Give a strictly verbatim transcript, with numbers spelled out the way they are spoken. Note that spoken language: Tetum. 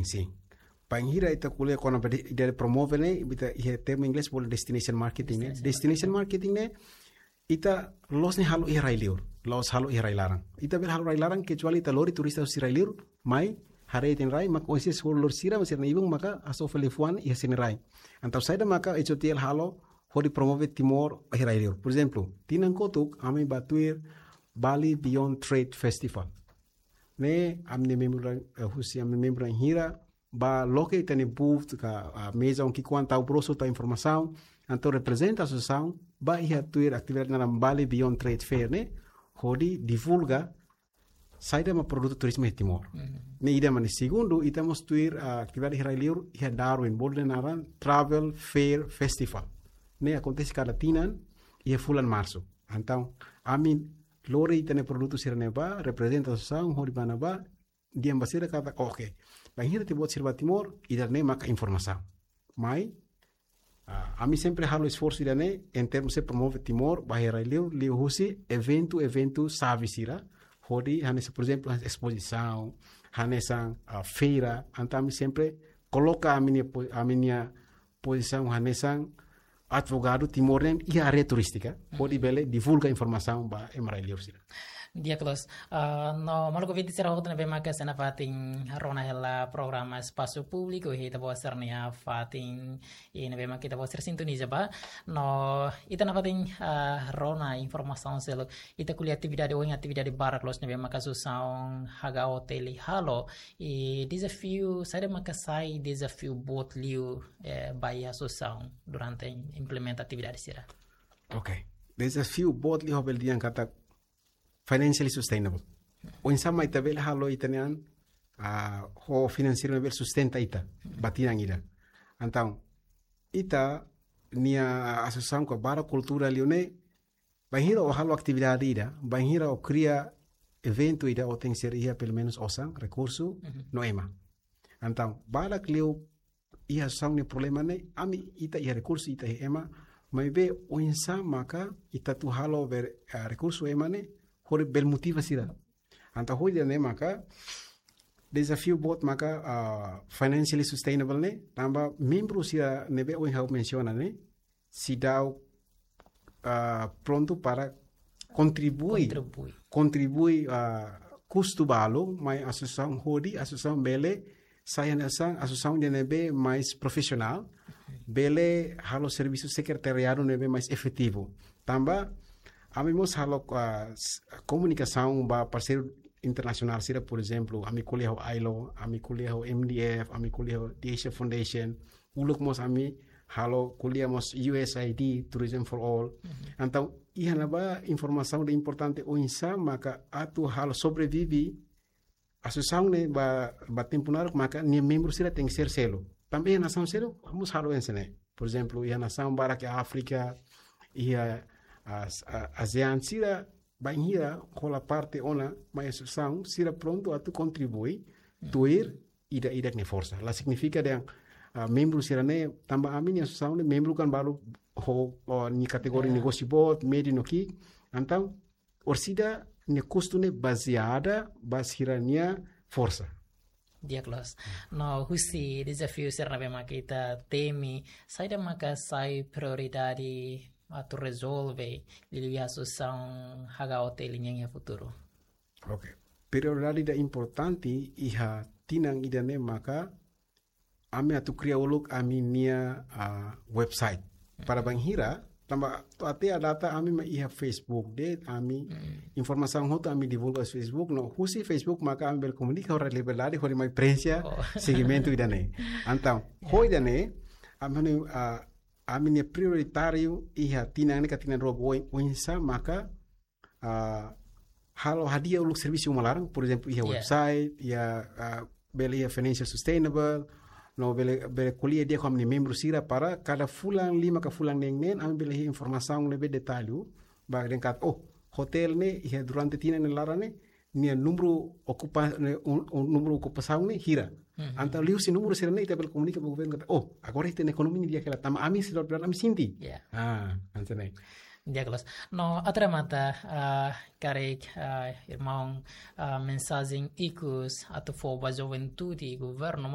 Sin. Bainhira ita ko'alia kona-ba de, de promove ne'e, ita iha termu inglés bolu destination marketing ne'e. Destination marketing ne'e, ita la'ós ne'e halo iha rai-liur, la'ós halo iha rai-laran. Ita bele halo rai-laran, kecuali ita lori turista husi rai-liur mai haree ita-nia rai, maka oinsá hodi lori sira, mas sira-nia ibun maka hasoru fali fuan iha sira-nia rai. Entaun saida maka H O T L halo hodi promove Timor iha rai-liur. Por ezemplu, tinan kotuk ami bá tuir Bali Beyond Trade Festival. Ne'e ami-nia membru, eh, husi ami-nia membru bainhira bá loke ita-nia booth ka, ah, meza oin ki'ikoan tau broxu, tau informasaun, entaun reprezenta asosiasaun bá iha tuir atividade naran Bali Beyond Trade Fair ne'e, hodi divulga saida mak produtu turizmu iha Timor. Ne'e ida mak ne'e. Segundu, ita mós tuir, ah, atividade iha rai-liur iha Darwin, bolu dehan naran Travel Fair Festival. Ne'e akontese kada tinan iha fulan Marsu. Entaun ami lori ita-nia produtu sira-ne'e bá, reprezenta asosiasaun hodi bá ne'ebá, dehan ba sira katak, oke, bainhira ita-boot sira bá Timor, ida-ne'e maka informasaun. Mai, ah, ami sempre halo esforsu ida-ne'e, en termu se promove Timor ba iha rai-liur, liuhusi eventu, eventu xave sira, hodi hanesan, por ezemplu, hanesan espozisaun, hanesan, ah, feira, entaun ami sempre koloka ami-nia po-, ami-nia pozisaun hanesan advogadu Timor nian iha área turístika, hodi bele divulga informasaun ba ema rai-liur sira. Di'ak loos, ah, no maluk ouvinte sira hotu ne'ebé maka sei nafatin rona hela programa Espasu Públiku iha ita-boot sira-nia fatin, i ne'ebé maka ita-boot sira sintoniza ba. No ita nafatin, ah, rona informasaun seluk, ita ko'alia atividade, ohin atividade barak loos ne'ebé maka asosiasaun H K O T L halo, i dezafiu, saida maka sai dezafiu boot liu, eh, ba iha asosiasaun durante implementa atividade sira? Oke. Dezafiu boot liu ha'u bele dehan katak financially sustainable. Oinsá mak ita bele halo ita-nia an, ah, ho finanseiru bele sustenta ita ba tinan ida. Entaun, ita-nia asosiasaun ka barak kultura liu ne'e, bainhira ó halo atividade ida, bainhira ó kria eventu ida, ó tenke ser iha pelumenus osan, rekursu, no ema. Entaun, barak liu iha asosiasaun nia problema ne'e, ami ita iha rekursu, ita iha ema, maibé oinsá maka ita atu halo bele, ah, rekursu ema ne'e, hodi bele motiva sira. Entaun hodi ne'e maka, dezafiu boot maka, ah, financially sustainable ne'e, tanba membru sira ne'ebé ohin ha'u mensiona ne'e, seidauk, ah, prontu para kontribui, kontribui, kontribui, ah, kustu balu mai asosiasaun hodi asosiasaun bele sai hanesan asosiasaun ida ne'ebé mais profisionál, bele halo servisu sekretariadu ne'ebé mais efetivu. Tanba ami mós halo, ah, s-, komunikasaun ba parseiru internasionál sira, por ezemplu, ami ko'alia ho ailo, ami ko'alia ho M D F, ami ko'alia ho The Asia Foundation, uluk mós ami halo ko'alia mós U S A I D, Tourism for All. Entaun, iha ne'ebá informasaun ida importante oinsá maka atu halo sobrevive asosiasaun ne'e ba, ba tempu naruk maka nia membru sira tenke ser seluk. Tanba iha nasaun seluk, mós halo hanesan ne'e. Por ezemplu, iha nasaun barak iha Áfrika, iha As-, a-, ASEAN sira, bainhira hola parte ona mai asosiasaun, sira prontu atu kontribui, tuir ida-idak nia forsa. La signifika dehan, ah, membru sira-ne'e, tanba ami-nia asosiasaun ne'e membru kan balu ho, ho nia kategoria negósiu boot, médiu no ki'ik. Entaun, orsida nia kustu ne'e bazeada ba sira-nia forsa. Di'ak loos. No husi dezafiu sira ne'ebé maka ita temi, saida maka sai prioridade atu rezolve liuliu asosiasaun H K O T L nian iha futuru? Oke. Prioridade ida importante iha tinan ida-ne'e maka ami atu kria uluk ami-nia, ah, website. Para bainhira, tanba to'o até à data ami mak iha Facebook de'it, ami informasaun hotu ami divulga iha Facebook, no husi Facebook maka ami bele komunika ho Rádiu Liberdade, hodi mai prenxe segimentu ida-ne'e. Entaun, ho ida-ne'e, ami, ah, ami-nia prioritáriu iha tinan ne'e ka tinan rua ba oin, oinsá maka ah, halo hadi'a uluk servisu uma laran, por ezemplu, iha website, iha, ah, bele iha financial sustainable, no bele, bele ko'alia di'ak ho ami-nia membru sira para kada fulan lima ka fulan neen-neen, ami bele iha informasaun ne'ebé detallu, ba dehan katak, oh, hotel ne'e iha durante tinan nia laran ne'e, nia númeru okupa-, ne'e, un, un, númeru okupasaun ne'e hira. Entaun liuhusi númeru sira-ne'e ita bele komunika ba governu katak, oh, agora ita-nia ekonomia ne'e di'ak hela, tanba ami sira, ami sente. Ya. Ah, hanesan ne'e. Di'ak loos. No, atu remata, ah, karik, ah, irmaun, ah, mensajen ikus atu fó ba juventude, governu, mós